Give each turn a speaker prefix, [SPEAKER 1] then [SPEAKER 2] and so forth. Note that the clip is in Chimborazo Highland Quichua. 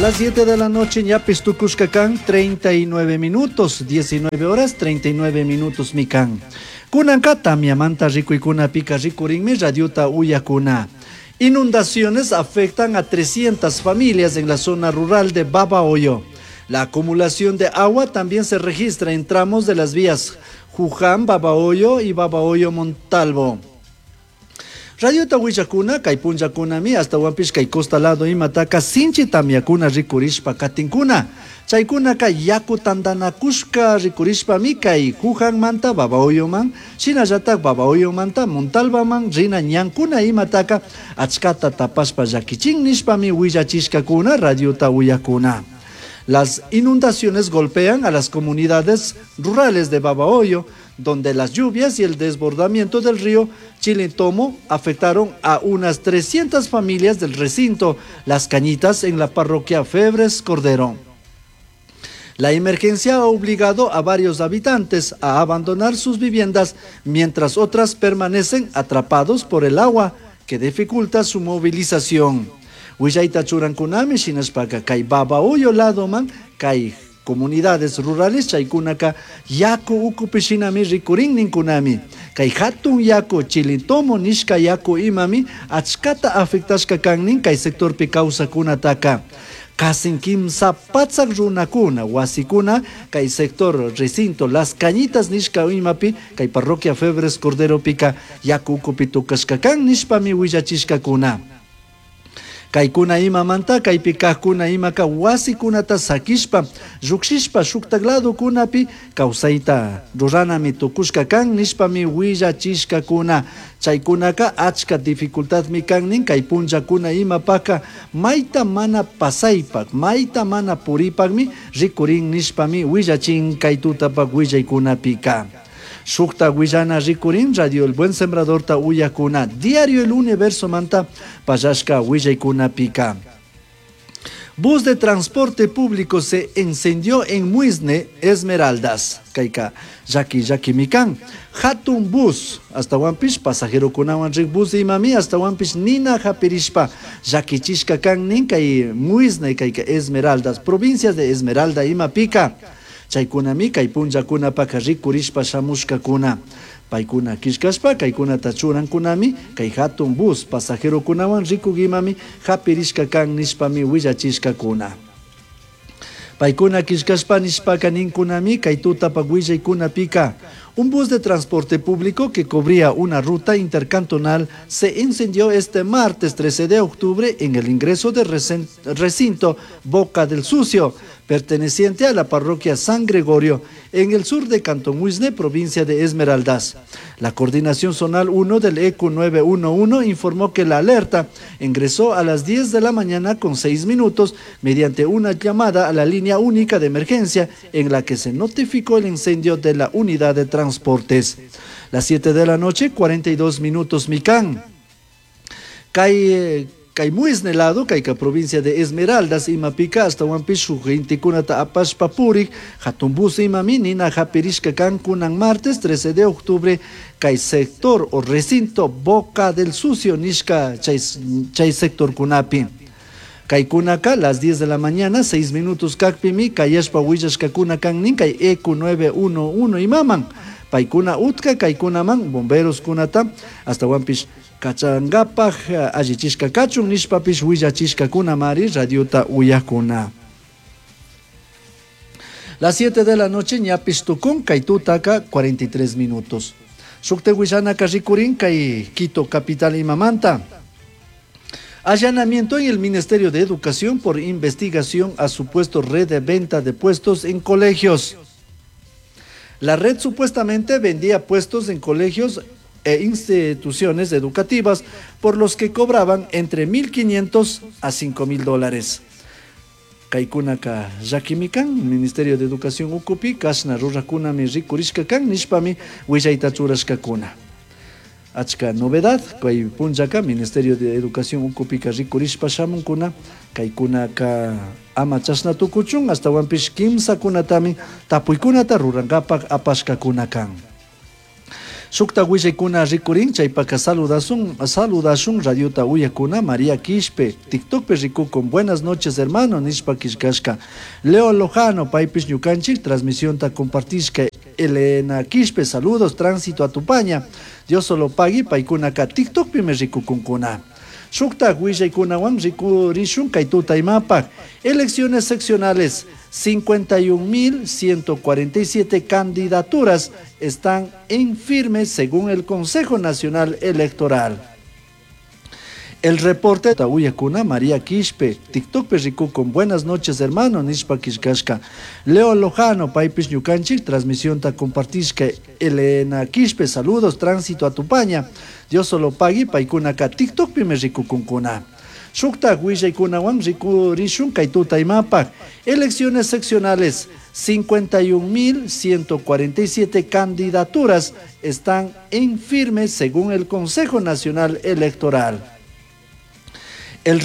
[SPEAKER 1] Las 7 de la noche ñapish tucushca can 39 minutos, 19 horas 39 minutos mikan. Kunanka tamyamanta rikuikunapika rikurinmi radiota uyakuna. Inundaciones afectan a 300 familias en la zona rural de Babahoyo. La acumulación de agua también se registra en tramos de las vías Juján, Babahoyo y Babahoyo Montalvo. Radiota willakuna kay punllakunami ashtawanpish kay costa lado imataka sinchi tamyakuna rikurishpa katinkuna. Chaykunaka yaku tantanakushka rikurishpami kay Jujanmanta Babahoyoman, shinallatak Babahoyomanta Montalvaman rina ñankuna imataka achkata tapashpa llakichin nishpami willachishkakuna radiota uyakuna. Las inundaciones golpean a las comunidades rurales de Babahoyo, donde las lluvias y el desbordamiento del río Chilintomo afectaron a unas 300 familias del recinto Las Cañitas en la parroquia Febres Cordero. La emergencia ha obligado a varios habitantes a abandonar sus viviendas, mientras otras permanecen atrapados por el agua que dificulta su movilización. Willayta churankunami shinashpaka kay Babahoyo ladoman kay comunidades rurales chaykunaka yaku ukupi shinami rikurin ninkunami. Kay hatun yaku Chilintomo nishka yaku imami achkata afectashka kannin kay sectorpi kawsakunataka. Kasin kimsa patsak runakuna wasikuna kay sector recinto Las Cañitas nishka imapi kay parroquia Febres Corderopika yaku ukupi tukashka kan nishpami willachishkakuna. Kaykuna imamanta kaypi kajkuna imaka wasikunata sakishpa llukshishpa shuktak ladokunapi kawsayta ruranami tukushka kan nishpami willachishkakuna. Chaykunaka achka dificultadmi kan nin kay punllakuna imapaka mayta mana pasaypak mayta mana puripakmi rikurin nishpami willachin kay tutapak willaykunapika. Shukta willana rikurin Radio El Buen Sembradorta uyakuna Diario El Universo manta pallashka willaykunapika. Bus de transporte público se incendió en Muisne, Esmeraldas. Kayka llaki llakimi kan. Hatun bus, ashtawanpish pasajerokunawan rik bus imami, ashtawanpish nina hapirishpa llakichishka kan nin kay Muisne, kayka Esmeraldas, provincias de Esmeralda imapika. Chaykunami kay punllakunapaka rikurishpa shamushkakuna. Paykuna killkashpa kaykunata churankunami kay hatun bus pasajerokunawan rikuk imami hapirishka kan nishpami willachishkakuna. Paykuna killkashpa nishpaka ninkunami kay tutapak willaykunapika. Un bus de transporte público que cubría una ruta intercantonal se incendió este martes 13 de octubre en el ingreso del recinto Boca del Sucio, perteneciente a la parroquia San Gregorio, en el sur de Cantón Muisne, provincia de Esmeraldas. La Coordinación Zonal 1 del ECU 911 informó que la alerta ingresó a las 10 de la mañana con 6 minutos mediante una llamada a la línea única de emergencia en la que se notificó el incendio de la unidad de transportes. Las 7 de la noche, 42 minutos, Micán. Kay kay Muisne lado, kayka provincia de Esmeraldas, imapika ashtawanpish shuk gentekunata apashpa purik, hatun bus imami nina hapirishka kan kunan martes 13 de octubre, kay sector o recinto Boca del Sucio nishka chay, chay sector kunapi. Kaykunaka las 10 de la mañana, 6 minutos kakpimi, kayashpa willashkakuna kan nin kay ECU 911 imaman. Paykuna utka kaykunaman bomberos kunata ashtawanpish kachangapak allichishka kachun nishpapish willachishkakunamari radiota uyakuna. Las 7 de la noche ñapish tukun kay tutaka 43 minutos. Shukta willanaka rikurin kay Quito capital imamanta. Allanamiento en el Ministerio de Educación por investigación a supuesto red de venta de puestos en colegios. La red supuestamente vendía puestos en colegios e instituciones educativas por los que cobraban entre 1.500 a 5.000 dólares. Kaykunaka llakimi kan, Ministerio de Educación ukupi, kashna rurakunami rikurishka kan, nishpami willayta churashkakuna. Achka novedad, kay punllaka Ministerio de Educación ukupika rikurishpa shamunkuna, kaykunaka ama chashna tukuchun, ashtawanpish kimsakunatami tapuykunata rurankapak apashkakuna kan. Shukta willaykuna rikurin chaypaka saludasun saludashun radiota uyakuna María Quispe TikTokpi rikukun buenas noches hermano nishpa killkashka. Leo Lojano paypish ñukanchik transmisionta compartishka. Elena Quispe saludos tránsito a Tupaña. Dios solo pagui paykunaka TikTokpimi rikukunkuna. Shuktak willaykunawan rikurishun kay tuta imapak. Elecciones seccionales 51.147 candidaturas están en firme según el Consejo Nacional Electoral. El reporte Uyakuna María Quispe, TikTokpi rikukun buenas noches hermano nishpa killkashka. Leo Lojano paypish ñukanchik transmisionta compartishka. Elena Quispe saludos tránsito a Tupaña. Dios solo pagui paykunaka TikTokpimi rikukunkuna. Shuktak willaykunawan rikurishun kay tuta imapak. Elecciones seccionales 51.147 candidaturas están en firme según el Consejo Nacional Electoral. El.